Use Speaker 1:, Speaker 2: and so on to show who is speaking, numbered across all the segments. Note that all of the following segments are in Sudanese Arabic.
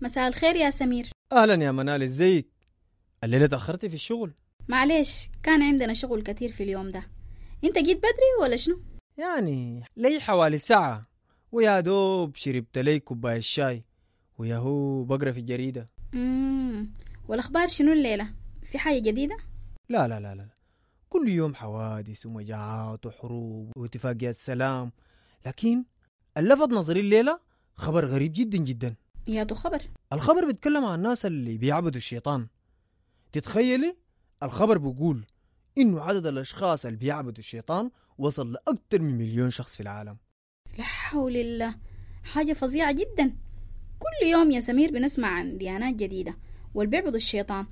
Speaker 1: مساء الخير يا سمير.
Speaker 2: اهلا يا منال، ازيك؟ الليلة تاخرتي في الشغل.
Speaker 1: معلش، كان عندنا شغل كتير في اليوم ده. انت جيت بدري ولا شنو؟
Speaker 2: يعني لي حوالي ساعة، ويا دوب شربت لي كوباية شاي وياهو بقرا في الجريدة.
Speaker 1: والاخبار شنو الليلة؟ في حاجة جديدة؟
Speaker 2: لا لا لا لا، كل يوم حوادث ومجاعات وحروب واتفاقيات سلام، لكن اللفت نظري الليلة خبر غريب جدا جدا.
Speaker 1: يا تو خبر؟
Speaker 2: الخبر بيتكلم عن الناس اللي بيعبدوا الشيطان. تتخيلي الخبر بيقول إنه عدد الأشخاص اللي بيعبدوا الشيطان وصل لأكثر من 1,000,000 شخص في العالم.
Speaker 1: لا حول الله، حاجة فظيعة جدا. كل يوم يا سمير بنسمع عن ديانات جديدة واللي بيعبدوا الشيطان،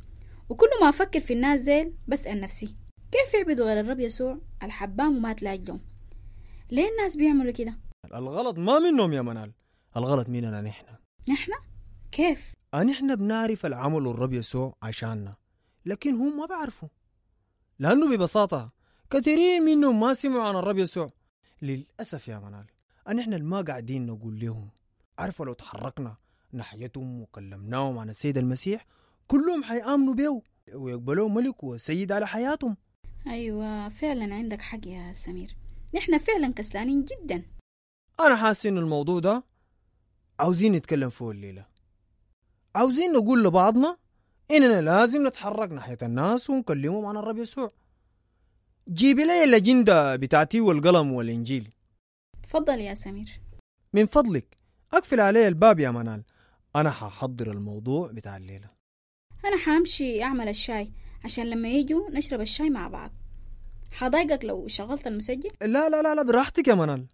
Speaker 1: وكل ما أفكر في الناس ديل بسأل نفسي كيف يعبدوا غير الرب يسوع الحبام وما تلاقيهم؟ ليه الناس بيعملوا كده؟
Speaker 2: الغلط ما منهم يا منال، الغلط مننا نحن.
Speaker 1: نحن؟ كيف؟
Speaker 2: نحن بنعرف العمل الرب يسوع عشاننا، لكن هم ما بعرفوا، لأنه ببساطة كثيرين منهم ما سمعوا عن الرب يسوع. للأسف يا منال نحن ما قاعدين نقول لهم. عارفة لو تحركنا ناحيتهم وكلمناهم عن السيد المسيح كلهم حيآمنوا به ويقبلوه ملك وسيد على حياتهم.
Speaker 1: أيوة فعلا عندك حق يا سمير، نحن فعلا كسلانين جدا.
Speaker 2: أنا حاسس إنه الموضوع ده عاوزين نتكلم فيه الليلة. عاوزين نقول لبعضنا إننا لازم نتحرك ناحية الناس ونكلمهم عن الرب يسوع. جيبي لي الأجندة بتاعتي والقلم والإنجيل.
Speaker 1: تفضل يا سمير.
Speaker 2: من فضلك أقفل علي الباب يا منال، أنا ححضر الموضوع بتاع الليلة.
Speaker 1: أنا حامشي أعمل الشاي عشان لما يجوا نشرب الشاي مع بعض. حضايقك لو شغلت المسجل؟
Speaker 2: لا لا لا لا، براحتك يا منال.